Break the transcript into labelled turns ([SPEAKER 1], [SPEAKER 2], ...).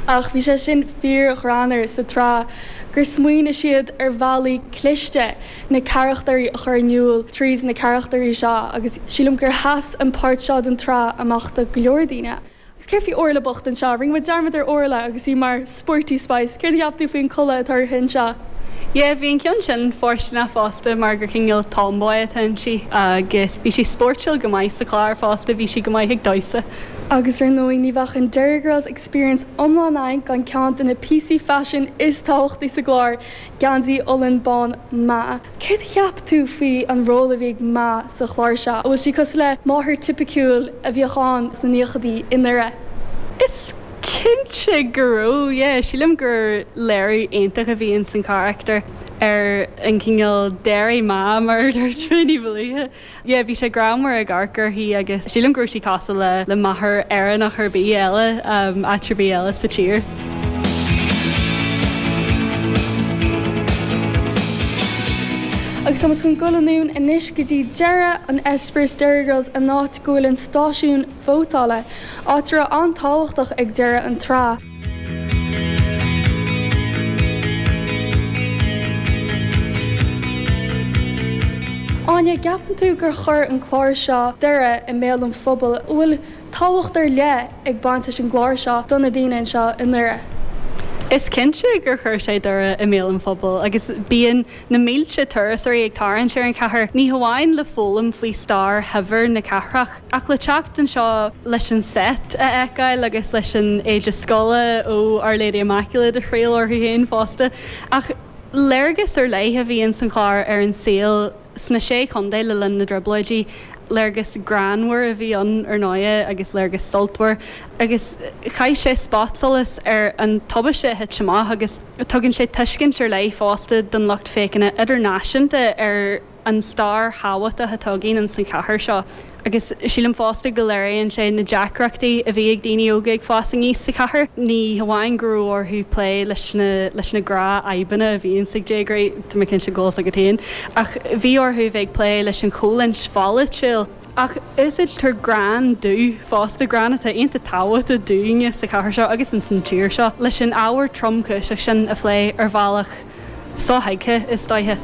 [SPEAKER 1] Ach bhí sé sin fíor-ghreannmhar sa tsraith gur smaoinigh siad ar bhealaí cliste na carachtairí a chur in iúl tríd na carachtairí seo agus sílim gur sheas an páirt seo den tsraith amach do go leor daoine. Agus céard faoi Orla bocht anseo? Rinne muid dearmad ar Orla agus í mar Sporty Spice. Céard a cheap tú faoin culaith atá uirthi anseo?
[SPEAKER 2] Yeah, bhí an ceann sin fóirsteanach fosta mar gur cineál tomboy atá inti agus bhí sí spóirtiúil go maith sa chlár fosta, bhí sí go maith ag damhsa.
[SPEAKER 1] Agus ar ndóigh ní bheadh an Derry Girls Experience iomlán againn gan ceann de na píosaí faisin is tábhachtaí sa gclár, geansaí olann bán Ma. Céard a cheap tú faoi an ról a bhí ag Ma sa chlár seo? An bhfuil sí cosúil le máthair tipiciúil a bhíodh ann sna naochadaí i nDoire?
[SPEAKER 2] Is cinnte go raibh, yeah. Sílim gur léiriú iontach a bhí ins an charachtar ar an chineál Derry Ma mar a dúirt mé ní ba luaithe. Yeah, bhí sé greannmhar ag amharc uirthi agus sílim go raibh sí cosúil le le máthair Éireannach ar bith eile, áit ar bith eile sa tír.
[SPEAKER 1] Agus tá muid chun dul anonn anois go dtí deireadh an eispéireas Derry Girls, an áit go bhfuil an stáisiún vótála, áit a raibh an-tábhachtach ag deireadh an tsraith. Áine, gceapann tú gur chuir an clár seo Doire i mbéal an phobail? An bhfuil tábhacht ar leith ag baint leis an gclár seo do na daoine anseo i nDoire?
[SPEAKER 2] Is cinnte gur chuir sé Doire i mbéal an phobail agus bíonn na mílte turasóirí ag tarraingt ar an chathair, ní hamháin le foghlaim faoi stair shaibhir na cathrach, Ach le teacht anseo leis an seit a fheiceáil agus leis an éide scoile ó Our Lady Immaculate a thriail orthu féin fosta. Ach léargas ar leith a bhí ins an chlár ar an saol sna Sé Chontae le linn na dTrioblóidí. Léargas greannmhar a bhí ann ar ndóighe agus léargas sultmhar agus chaith sé spotsolas ar an tubaiste a thit amach agus tugann sé tuiscint ar leith fosta don lucht féachana idirnáisiúnta ar an stair thábhachtach atá againn ins an chathair seo agus sílim fosta go léiríonn sé na deacrachtaí a bhí ag daoine óga ag fás aníos sa chathair. Ní hamháin go raibh orthu plé leis na leis na gnáthfhadhbanna a bhíonns ag déagóirí, tá mé cinnte go bhfuil 's agat féin, ach bhí orthu bheith ag plé leis an choimhlint pholaitiúil. Ach úsáidtear greann dubh fosta, greann atá iontach tábhachtach dúinne sa chathair seo agus ins an tír seo, leis an ábhar tromchúiseach sin a phlé ar bhealach sothuigthe, is dóiche.